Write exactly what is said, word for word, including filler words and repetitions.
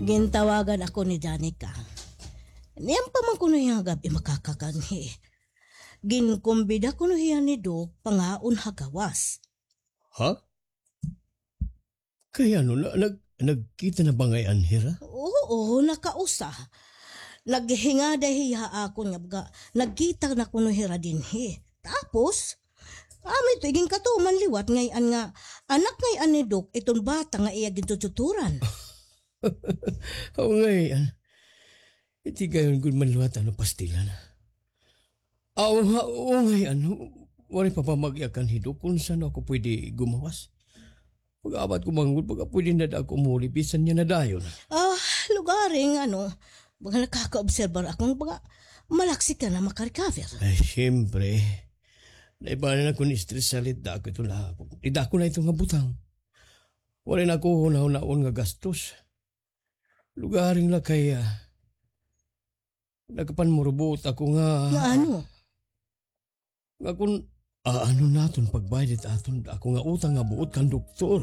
Gintawagan ako ni Danica. Niyan pa man kuno hiya nga gab-i makakakanhi. Ginkumbida kuno hiya ni Doc pangaon ha gawas. Ha? Kay ano, na, nag, nagkita na ba ngay-an hira? Oo, nakausa. Naghingaday hiya ha akon nga baga, nagkita na kuno hira dinhi. Tapos, kami ito, iginkatuman liwat ngay-an nga, anak ngay-an ni Doc, iton bata nga iya gintututuran. Oo, ngay-an. Iti gayon gud man liwat ano pastilan. Aw, ha, oo, ngay-an. Waray pa ba mag-iya kan hi Doc kun san-o ako pwede gumawas. Pag-abat ko manggod, baga pwede na da ako umuli, bisan niya na dayon. Ah, lugaring, ano, baga nakakaobserbar ako, baga malaksi ka na makarecover. Ay, siyempre. Naibanan ako ni stress salit da ako ito na. Ida ko na ito nga butang. Wala na ako hunahunaon nga gastos. Lugaring na kaya. Nakapanmurubuot ako nga Nga ano? Nga kun, ah, ano naton pagbayad it aton, ako nga utang nga buot kan doktor.